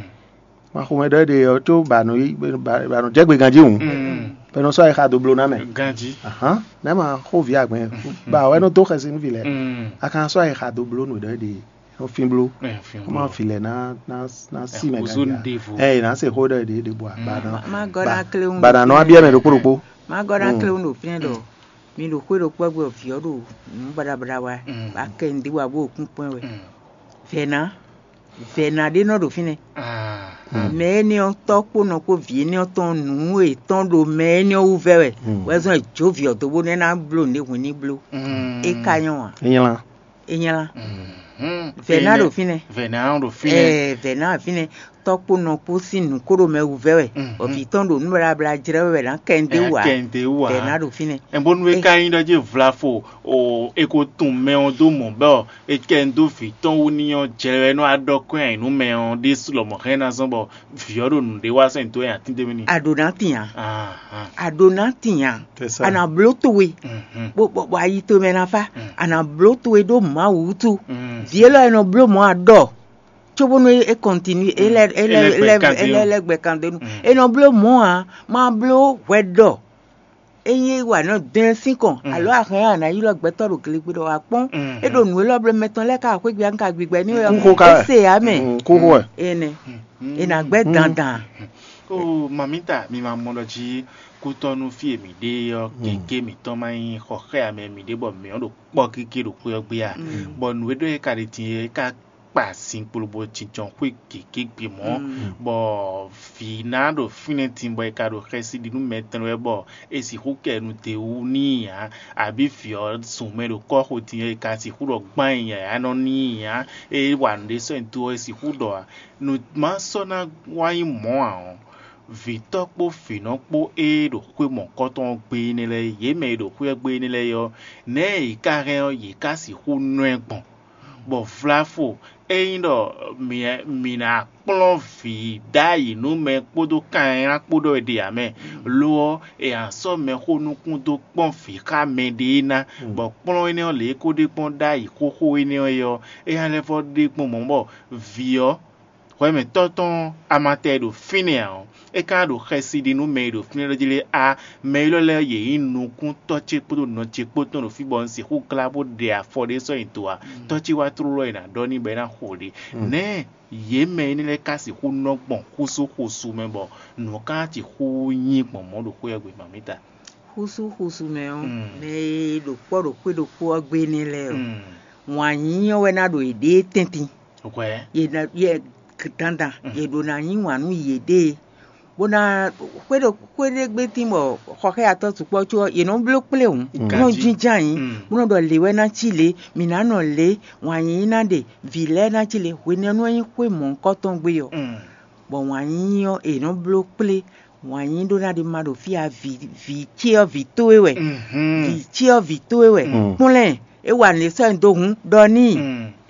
Ma xomɛ ɖɔ éɖe ɔ́ có ba nɔ yí ba ba nɔ jɛ gbe ganjí hǔn. Mm. Bɛ nɔ sɔ́ ayixa dó bló ná mɛ. Ganjí. Ahán, nɛ́ ma xó vǐ agbɛn. Ba wɛ nɔ dó xɛsi nú vǐ lɛ. Mm. A kan sɔ́ ayixa dó bló nǔ ɖɔ éɖe. Nɔ fín bló. Ɛ, fín Kó má bló. Fi lɛ ná ná ná sí mɛ Kúzú ganjí. Ɖěvo. Ɛ ná se xó ɖɔ éɖe ɖe bɔ a ba nɔ. Má gɔ́ ná kléwún Ba ɖo nɔ fínɛ́. Abia mɛ ɖokpó ɖokpó. Má gɔ́ ná Mm. kléwún ɖo fínɛ́ ɖɔ mi ɖo xwé ɖokpó gbé ɔ́, vǐ ɔ́ ɖo nǔ baɖabaɖa wa, Mm. Bá kɛ nǔɖé wa bó kún kpɔ́n wɛ. Mm. Vɛ̌ ná, vɛ̌ ná ɖé nɔ ɖo fínɛ́. Ah. Mm. Mɛ énɛ́ ɔ́ tɔ́ kpó nɔ kpó vǐ énɛ́ ɔ́ tɔn nǔ yětɔn ɖo mɛ énɛ́ ɔ́ wú vɛ́ wɛ. Mm. Wɛ zɔn è jó vǐ ɔ́ dó bónú é ná bló nǔɖé hwin ní bló. Mm. É ka nyɔ́ ǎ. É nylá. É nylá. Mhm. Vɛ̌ ná ɖo fínɛ́. Vɛ̌ ná ɖo fínɛ́. Ɛɛ, vɛ̌ ná ɖo fínɛ́. Tɔ́ kpó nɔ kpó sín nǔ kó ɖo mɛ wú vɛ́ wɛ. Mhm. Bɔ vǐ tɔn ɖo nǔ baɖabaɖa jlɛ́ wɛ wɛ ná kɛ nǔɖé Ɛ, wú ǎ. Kɛ nǔɖé wú ǎ. Vɛ̌ ná ɖo fínɛ́. Ɛ bónú é É- ka nyí ɖɔ jí vlafo o, è ko tunwun mɛ ɔ́ dó mɔ̌ bɔ è kɛ nǔ dó vǐ tɔn wú ní ɔ́, jɛ wɛ nɔ wá ɖɔ kɔn nyi nú mɛ ɔ́ ɖésú lɔmɔ̌ hɛn ná zɔ́n bɔ vǐ ɔ́ ɖo nǔɖé wa sɛn dó nyi atín ɖé mɛ n'i. A ɖǒ ná tin ǎ. Ahan. A ɖǒ ná tin ǎ. C'est ça. A nǎ bló towe. Mhm. Bó bɔ bɔ ayi towe mɛ ná fá. Mm. A nǎ bló towe ɖó Mawu wútu. Mm. Vǐ élɔ́ e nɔ bló mɔ̌ a ɖɔ. Cóbónú é kɔntinu é lɛ é lɛ É lɛ é lɛ gbɛ kan é lɛ dó. É lɛ gbɛ kan dó nú. Mm. E nɔ bló mɔ̌ ǎ, ma bló hwɛ ɖɔ. Ényí é wa nɔ dɛn sín kɔn, Mm. Alo a hɛn a nǎ ylɔ́ gbɛtɔ́ ɖo glegbé ɖɔ wá kpɔ́n. Mm. É ɖo nǔ élɔ́ bló mɛ tɔn lɛ́ɛ ká xwé gbe ká gbigbɛ ní wɛ. Kúxo ká wɛ. Ése ǎ mɛ. Mm, kúxo wɛ. Énɛ́. Mm. É ná gbɛ́ dandan. Ó, mamita, mi ma mɔ ɖɔ jí kútɔ́nú fí e mǐ ɖe ɔ́, Mm. Gěgé mǐtɔn ma nyí xɔ xá ame mǐ ɖe bɔ mǐ ɔ́ ɖo kpɔ́ gígé ɖo xwé ɔ́ gbé a? Mm. Bɔ nǔ e ɖɔ é ka ɖe din é ka kpa zinkpo lobo jínjɔ́n xwé gěgé gbe mɔ̌, bɔ vǐ ná ɖo fínɛ́ din bɔ è ka ɖo xɛsi ɖi nú mɛ tɛn wɛ bɔ è sixú kɛ nu d'é wú n'i ǎ, abǐ vǐ ɔ́ zun mɛ ɖo kɔ́xo din ɔ́, è ka sixú ɖɔ gbán nyi yǎyá nɔ n'i ǎ, é wa nǔɖé sɔ́ nyi do ɔ́, è sixú ɖɔ ǎ. Nǔ ma sɔ́ ná wá nyí mɔ̌ ǎ ɔ́, vǐtɔ́ kpó vǐnɔ kpó e ɖo xwé mɔ̌hunkɔtɔn ɔ́ gbe énɛ́ lɛ́ɛ, yě mɛ e ɖo xwé ɔ́ gbe énɛ́ lɛ́ɛ ɔ́, nɛ̌ yě ka hɛn ɔ́, yě ka sixú nɔ ɛ gbɔn? Bɔ vlafo, ényí ɖɔ mǐ mǐ ná kplɔ́n vǐ ɖ'ayǐ nú mɛ kpódó kanlán kpó ɖɔ è ɖe ǎ mɛ, lo ɔ́, è nǎ sɔ́ mɛxó nukún dó kpɔ́n vǐ xá mɛɖé ná, bɔ kplɔ́n énɛ́ ɔ́, lě e é ko ɖe gbɔn ɖ'ayǐ xóxó énɛ́ ɔ́ é ɔ́, é ná lɛ́ vɔ́ ɖe gbɔn mɔ̌ bɔ vǐ ɔ́, hwɛmɛtɔ́ tɔn amatɛ e ɖo fínɛ́ ǎ ɔ́, é ka ɖo xɛsi ɖi nú mɛ e ɖo fínɛ́ lɛ́ɛ jí lé a? Mɛ élɔ́ lɛ́ɛ yě nyí nukúntɔ́ ce kpódó nɔ ce kpó tɔn ɖo fí bɔ un sixú glá bó ɖe afɔ ɖé sɔ́ nyi do ǎ. Tɔ́ ce wá tlóló e nǎ ɖɔ n'i bɔ é ná xo ɖě. Nɛ̌ yě mɛ énɛ́ lɛ́ɛ ka sixú nɔ gbɔn xúsú xúsú mɛ bɔ nǔ ɔ́ ka ná sixú nyí gbɔn mɔ̌ ɖo xwé ɔ́ gbe mamǐta? Xúsú xúsú mɛ ɔ́, mɛ e ɖo kpɔ́ ɖo xwé ɖokpó ɔ́ gbe énɛ́ lɛ́ɛ ɔ́, wǎn yíyí ɔ́ wɛ ná ɖo yěɖée tɛ́ntin. Hwɛ. Yě ná yɛ dandan yě ɖó ná yí wǎn nú yěɖée, bó ná xwé ɖo xwé ɖé gbé tín bɔ xɔxɛ́yatɔ́ sukpɔ́ có ɔ́, yě nɔ bló kplé hǔn, bó nɔ Ganjí. Jínjɔ́n ayǐ, bó nɔ ɖɔ lě wɛ ná cí lě, mǐ ná nɔ lě, wǎn yíyí ná ɖe, vǐ lɛ́ɛ ná cí lě, hwenɛ́nu ɔ́ nyí xwé mɔ̌hunkɔtɔn gbé ɔ́, bɔ wǎn yíyí ɔ́, è nɔ bló kplé, wǎn yíyí ɖó ná ɖe ma ɖo fí ǎ, vǐ vǐ ce ɔ́, vǐ towe wɛ, vǐ ce ɔ́, vǐ towe wɛ, kplɔ́n ɛ, é wa nǔ e sɔ́ nyi do hǔn ɖɔ n'i.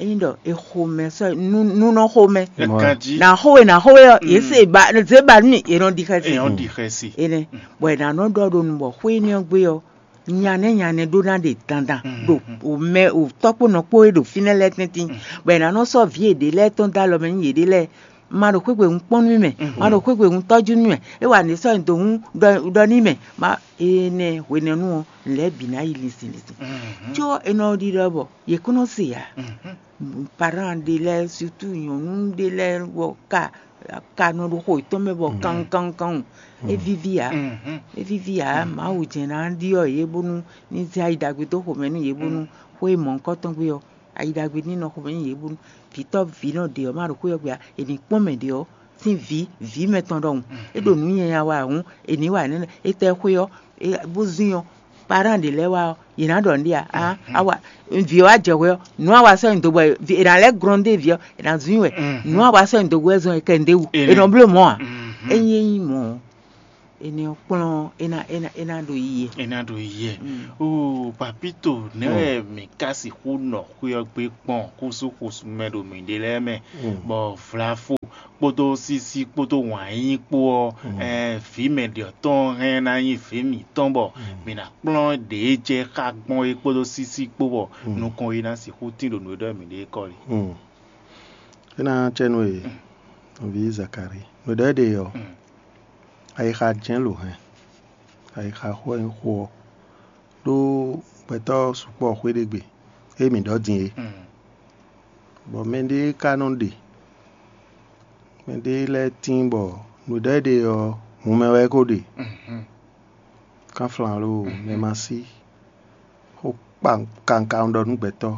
Ényí ɖɔ è xo mɛ sɔ́ nú nú nɔ xo mɛ, Ganjí. Nǎ xo we nǎ xo we ɔ́, yě se ba zě ba nú mì, è nɔ ɖi xɛsi. Èèyàn ɖi xɛsi. Énɛ́, bɔ è nǎ nɔ ɖɔ ɖo nu bɔ xwé énɛ́ ɔ́ gbé ɔ́, nyanɛ nyanɛ ɖó ná ɖe dandan ɖo mɛ tɔ́ kpó nɔ kpó e ɖo fínɛ́ lɛ́ɛ tɛ́ntin, bɔ è nǎ nɔ sɔ́ vǐ yěɖée lɛ́ɛ tɔn dó alɔ mɛ nú yěɖée lɛ́ɛ. Ma ɖo xwé gbe hun kpɔ́n nú mì mɛ, ma ɖo xwé gbe hun tɔ́jú nú mì mɛ, é wa nǔ e sɔ́ nyi do hun ɖɔ ɖɔ n'i mɛ. Ma énɛ́ hwenɛ́nu ɔ́, nǔ lɛ́ɛ bǐ ná yi linsin linsin. Có è nɔ ɖiɖɔ bɔ yě kún nɔ se ǎ. Parán ɖé lɛ́ɛ, sutu nyɔ̌nu ɖé lɛ́ɛ bɔ ka ka nɔ ɖo xo yětɔn mɛ bɔ kankankan. É víví ǎ. É víví ǎ. Mawu jɛ́n ná ɖyɔ́ yě bónú ní zé ayi ɖagbe dó xomɛ nú yě bónú xó e mɔ̌hunkɔtɔn gbé ɔ́, ayi ɖagbe ní nɔ xomɛ nú yě bónú vǐtɔ́ vǐ nɔ ɖě ɔ́ ma ɖo xwé ɔ́ gbe ǎ. È nǐ kpɔ́n mɛ ɖě ɔ́ sín vǐ vǐ mɛtɔn ɖɔhun. É ɖo nǔ nyanya wa hǔn, è nǐ wa nɛ́nɛ. Étɛ́ xwé ɔ́, é bó zín ɔ́, parán ɖě lɛ́ɛ wá ɔ́, yě ná ɖɔ nǔɖé ǎ. Á, á wa vǐ ɔ́ wá jɛ hwɛ ɔ́, nǔ a wa sɔ́ nyi do bɔ è nǎ lɛ́ glɔ́n dó vǐ ɔ́, è nǎ zún i wɛ. Nǔ a wa sɔ́ nyi do wɛ zɔn è kɛ nǔɖé wú. È nɔ bló mɔ̌ ǎ. Ényí é nyí mɔ̌ ɔ́, énɛ́ ɔ́ kplɔ́n é ná é ná é ná ɖo yiyi. É ná ɖo yiyi. Oo, papito, nɛ̌ wɛ mǐ ka sixú nɔ xwé ɔ́ gbé kpɔn xúsúxúsú mɛ ɖo mǐɖée lɛ́ɛ mɛ, bɔ vlafo kpódó sísí kpódó wǎn yíyí kpó ɔ́, vǐ mɛ ɖě ɔ́ tɔn hɛn ná nyí vǐ mǐtɔn bɔ mǐ ná kplɔ́n ɖě jɛ xá gbɔn é kpódó sísí kpó bɔ nukɔn e ná sixú tín ɖo nǔ e ɖɔ mǐ ɖe é kɔ lí. É ná cɛ nú we, nɔví Zakalíi. Nǔ ɖɔ é ɖe ɔ́, ayixa jɛ́n lǒ hɛn, ayixa xó wɛ nyí xó ɔ́, ɖó gbɛtɔ́ sukpɔ́ xwé ɖé gbe, ée mǐ ɖɔ din é. Bɔ mɛɖé ka nɔ ɖe, mɛɖé lɛ́ɛ tíin bɔ nǔ ɖɔ é ɖe ɔ́, hun mɛ wɛ é ko ɖe. Kánflán lo mɛ ma sí, xó kpa kawun ɖɔ nú gbɛtɔ́.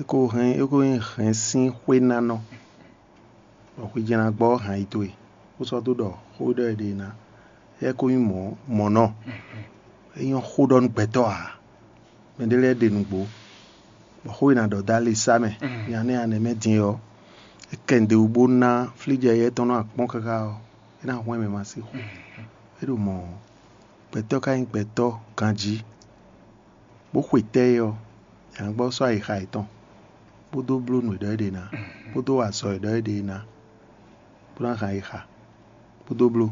É ko hɛn é ko nyí hɛn sín xwénánɔ, bɔ xwejɛ́nnagbɔ́ hɛn ayi towe, bó sɔ́ dó ɖɔ xó ɖɔ è ɖe ná. É ko nyí mɔ̌ mɔ̌ nɔ. É nyɔ́ xó ɖɔ nú gbɛtɔ́ ǎ. Mɛɖé lɛ́ɛ ɖe nǔgbó, bɔ xó e è nǎ ɖɔ dó ali sá mɛ, nya nɛ́ anɛ mɛ din ɔ́, é kɛ nǔɖé wú bó ná flíjɛ éyɛ́ tɔn nɔ akpɔ́n káká ɔ́, é ná hwɛ́n mɛ ma sín xo. É ɖo mɔ̌ ɔ́, gbɛtɔ́ ka nyí gbɛtɔ́ ganjí, bó xwe tɛ́ é ɔ́, è nǎ gbɔ sɔ́ ayixa yětɔn, bó dó bló nǔ e ɖɔ é ɖe ná, bó dó wa azɔ̌ e ɖɔ é ɖe ná, bó ná hɛn ayixa, bó dó bló.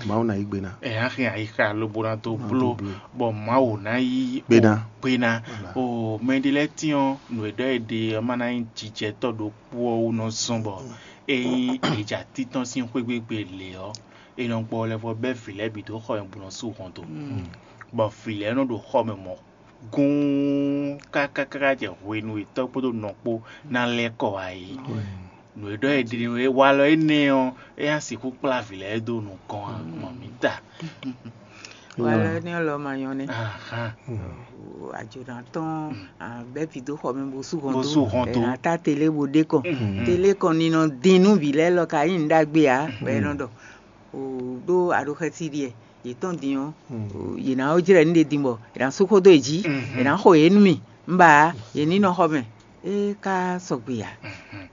Mawu ná yí gbe ná. Ɛ á hɛn ayixa lobo ná dó bló, bɔ Mawu ná yí Gbe ná. Gbe ná. Voilà. O mɛɖé lɛ́ɛ tín ɔ́, nǔ e ɖɔ é ɖe ɔ́ má ná nyí jijɛtɔ́ ɖokpó ɔ́ wú nɔ zɔ́n bɔ ényí è ja títɔn sín xwé gbégbé lě ɔ́, è nɔ gbɔ lɛ́ vɔ bɛ́ vǐ lɛ́ɛ bǐ dó xɔ nyi bó nɔ sú hɔn dó. Bɔ vǐ lɛ́ɛ nɔ ɖo xɔ mɛ mɔ̌ gúún káká káká jɛ hwenu e tɔ́ kpódó nɔ kpó ná lɛ́ kɔ wá é. Nǔ e ɖɔ è ɖi nú é walɔ énɛ́ ɔ́, é ná sixú kplá vǐ lɛ́ɛ dó nukɔn ǎ, mɔ mǐ ta. Walɔ énɛ́ lɔ ma nyɔ́ nɛ́. Ajǒnátɔn bɛ́ vǐ dó xɔ mɛ bó sú hɔn dó, è nǎ tá télé bó ɖé kɔn. Télé kɔn ní nɔ dín nú vǐ lɛ́ɛ lɔ ka nyí nǔ ɖagbe ǎ, bɔ é nɔ ɖɔ ɖó aɖóxɛ́sí ɖiɛ yě tɔn din ɔ́, yě ná ó jlɛ́ nǔ ɖe din bɔ è nǎ sú xó dó yě jí, è nǎ xo yě nú mì. Un ba yě ní nɔ xɔ mɛ. É ka sɔgbe ǎ.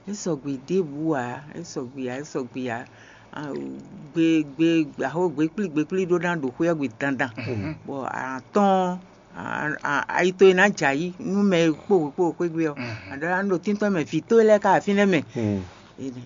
É sɔgbe ɖěbǔ ǎ. É sɔgbe ǎ. É sɔgbe ǎ. Gbe gbe axó gbe kplí gbe kplí ɖó ná ɖo xwé ɔ́ gbe dandan, bɔ atɔ́ɔ́n ayi towe ná jɛ ayǐ nú mɛ e kpó wě kpó wě xwé gbe ɔ́, a ɖɔ ná ɖo tíntɔ́n mɛ vǐ towe lɛ́ɛ ká afínɛ́ mɛ.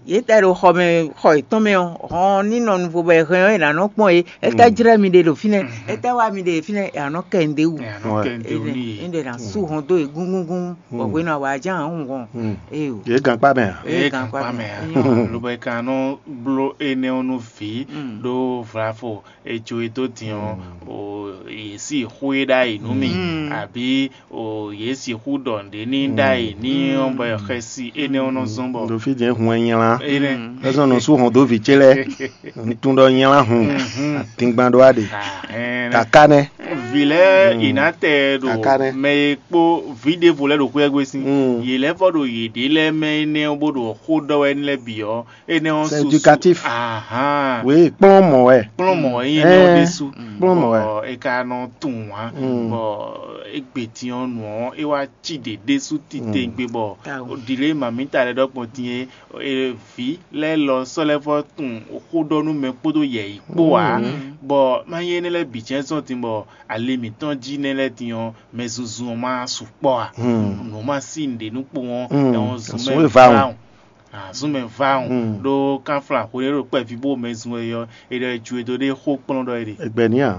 Yě tɛ ɖo xɔ mɛ xɔ yětɔn mɛ ɔ́, hɔn ní nɔ nuvo bɔ è hɛn ɔ́, è nǎ nɔ kpɔ́n yě. Étɛ́ jlɛ́ mi ɖe ɖo fínɛ́? Étɛ́ wá mi ɖe fínɛ́? È nǎ nɔ kɛ nǔɖé wú. Énɛ́ ɖě ná sú hɔn dó yě gúngúngún, bɔ hwenu awǎ ján ǎ hɔn. Éyo. Yě gǎn kpá mɛ ǎ. Yě gǎn kpá mɛ ǎ. Lobo è ka nɔ bló énɛ́ ɔ́ nú vǐ ɖó vlafo e jó e dó din ɔ́, yě sí xwé ɖ'ayǐ nú mì, abǐ yě sixú ɖɔ nǔɖé ní ɖ'ayǐ ní ɔ́ bɔ xɛsi énɛ́ ɔ́ nɔ zɔ́n bɔ ɖo fí jɛ́n hun ɛ nylá. Énɛ́. É zɔ́n nɔ sú hɔn dó vǐ ce lɛ́ɛ. Tún ɖɔ nylá hun. Dingban ɖó aɖe. Kaká nɛ́. Vǐ lɛ́ɛ yě ná tɛ ɖo mɛ e kpó vǐ ɖěvo lɛ́ɛ ɖo xwé ɔ́ gbe sín. Yě lɛ́ vɔ ɖo yěɖée lɛ́ɛ mɛ énɛ́ ɔ́ bó ɖo xó ɖɔ wɛ nú lɛ́ɛ bǐ ɔ́, énɛ́ ɔ́ C'est éducatif. Ahán. Oui, kplɔ́n mɔ wɛ. Kplɔ́n mɔ wɛ nyí énɛ́ ɔ́ ɖésú. Kplɔ́n mɔ wɛ. Bɔ è ka nɔ tunwun ǎ. Bɔ égbé din ɔ́ nǔ ɔ́ é wá cí ɖě ɖésú titewungbe bɔ ɖǐlé mǎmíta lɛ́ɛ ɖɔkpɔn din é. Vǐ lɛ́ɛ lɔ sɔ́ lɛ́ vɔ tunwun xó ɖɔ nú mɛ kpódó yɛ̌yi kpó ǎ. Bɔ má nyí énɛ́ lɛ́ɛ bǐ jɛ́n zɔ́n din bɔ ali mǐtɔn jí nɛ́ lɛ́ɛ din ɔ́, mɛ zunzun ɔ́ má sukpɔ́ ǎ. Nǔ má sí nǔɖé nú kpowun ɔ́, é wɔn zun mɛ vawun. Azun mɛ vawun ɖó kánflán hwenu e ɖo kpɛví bó mɛ zun wɛ ɔ́, è ɖɔ è ju e dó ɖe xó kplɔ́n ɖɔ é ɖe. Egbɛ ní a?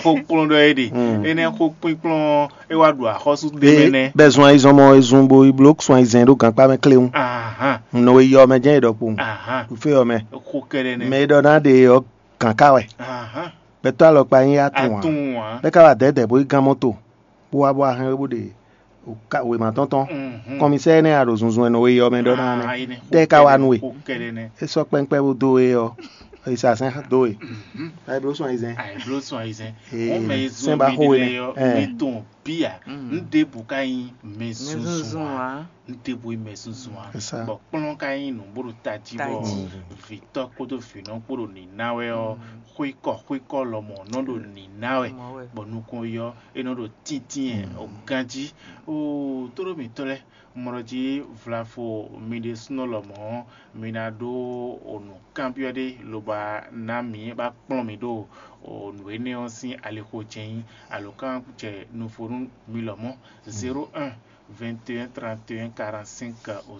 Xó kplɔ́n ɖɔ é ɖe. Énɛ́ xó kpínkplɔ́n ɔ́, é wá ɖu axɔ́sú ɖé mɛ nɛ́. Bɛ zun ayizɔn mɔ ezun bo yi bló sun ayizɛn ɖó gankpá mɛ kléwún. Ahán. Nɔ e yɔ mɛ jɛ́n e ɖɔ kpowun. Ahán. Fé yɔ mɛ. Xó kɛɖɛ nɛ́. Mɛ e ɖɔ ná ɖe ɔ́ gǎn ká wɛ. Ahán. Gbɛtɔ́ alɔkpa nyí atún ǎ. Atún ǎ. Bɛ́ ká wá dɛ̌dɛ̌ bó yi gán mɔ́to. Bó wá bó wá hɛn we bó ɖe wěma tɔn tɔn. Kɔmisɛ́ énɛ́ a ɖo zunzun e nɔ we yi ɔ́ mɛ ɖɔ ná nɛ́. Tɛ́ ka wá nú we? É sɔ́ kpɛ́nkpɛ́ bó dó we ɔ́, è sa sɛn dó we. Ayiblo sɔn ayizɛn. Ayiblo sɔn ayizɛn. Sɛn ba xó we nɛ. Mi tɔn bia. N ɖěbǔ ka nyí mɛ zunzun ǎ. N ɖěbǔ nyí mɛ zunzun ǎ. Bɔ kplɔ́n ka nyí nǔ bó ɖo tají bɔ vǐtɔ́ kpódó vǐnɔ kpó ɖo nǐná wɛ ɔ́, xwékɔ xwékɔ lɔmɔ̌ nɔ ɖo nǐná wɛ, bɔ nukɔn yi ɔ́, é nɔ ɖo tíntín ɛ o ganjí. Oo, tóɖó mǐtɔn lɛ́ɛ, un mɔ ɖɔ jí vlafo mi ɖésúnɔ lɔmɔ̌, mi ná ɖó o nǔ kanbyɔ́ ɖé lobo ná mǐ ba kplɔ́n mǐ ɖo o nǔ énɛ́ ɔ́ sín alixo jɛ́n nyí alǒkan jɛ nuvo nú mi lɔmɔ̌. Zéro un, vingt et un, trente et un, quarante-cinq au